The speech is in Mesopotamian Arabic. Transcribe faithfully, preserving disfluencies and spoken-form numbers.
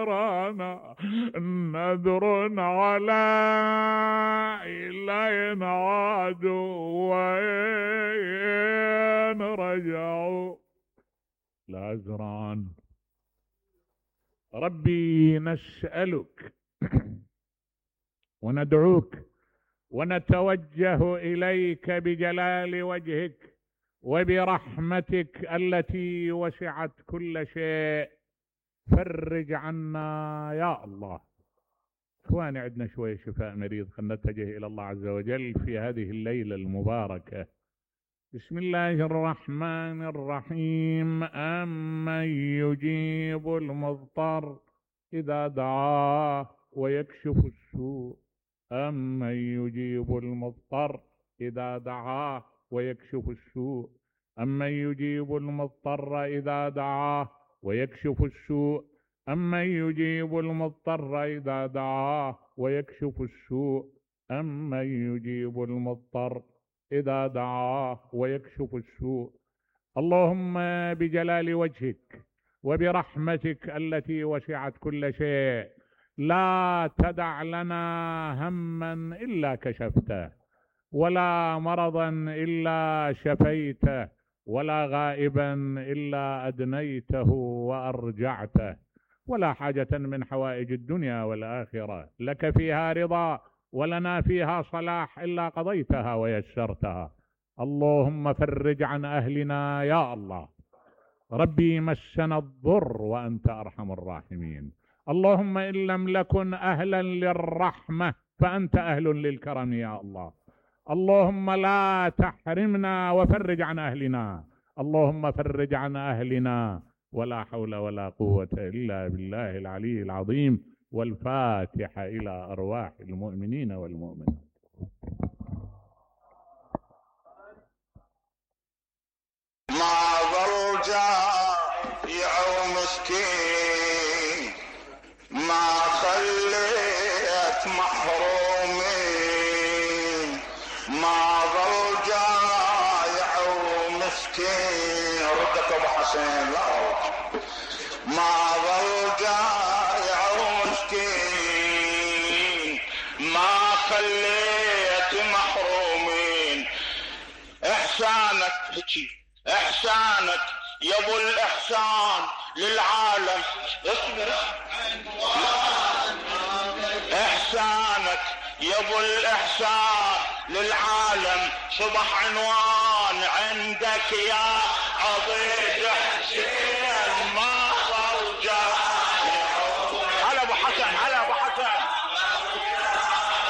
رانا نذر على إلينا عادوا وين رجعوا لا أزرعن. ربي نسألك وندعوك ونتوجه إليك بجلال وجهك وبرحمتك التي وسعت كل شيء، فرج عنا يا الله. اخواني عندنا شوية شفاء مريض، خلنا نتجه إلى الله عز وجل في هذه الليلة المباركة. بسم الله الرحمن الرحيم. أمن يجيب المضطر إذا دعاه ويكشف السوء أمن يجيب المضطر إذا دعاه ويكشف السوء أمن يجيب المضطر إذا دعاه ويكشف السوء أمن يجيب المضطر إذا دعاه ويكشف السوء أمن يجيب المضطر إذا دعاه ويكشف السوء. اللهم بجلال وجهك وبرحمتك التي وسعت كل شيء لا تدع لنا هما إلا كشفته، ولا مرضا إلا شفيته، ولا غائبا إلا أدنيته وأرجعته، ولا حاجة من حوائج الدنيا والآخرة لك فيها رضا ولنا فيها صلاح إلا قضيتها ويسرتها. اللهم فرج عن أهلنا يا الله. ربي مسنا الضر وأنت أرحم الراحمين. اللهم إن لم نكن أهلا للرحمة فأنت أهل للكرم يا الله. اللهم لا تحرمنا وفرج عن أهلنا. اللهم فرج عن أهلنا، ولا حول ولا قوة إلا بالله العلي العظيم. والفاتحة إلى أرواح المؤمنين والمؤمنات. ما ظل جائع ومسكين ما خليت محرومين ما ظل جائع ومسكين. ردك ابو حسين لا ما ظل جائع ومسكين ما خليت محرومين. احسانك هيك احسانك يا ابو الاحسان للعالم. اصبر احسانك يا ابو الاحسان للعالم صبح عنوان عندك يا عضيد حسين.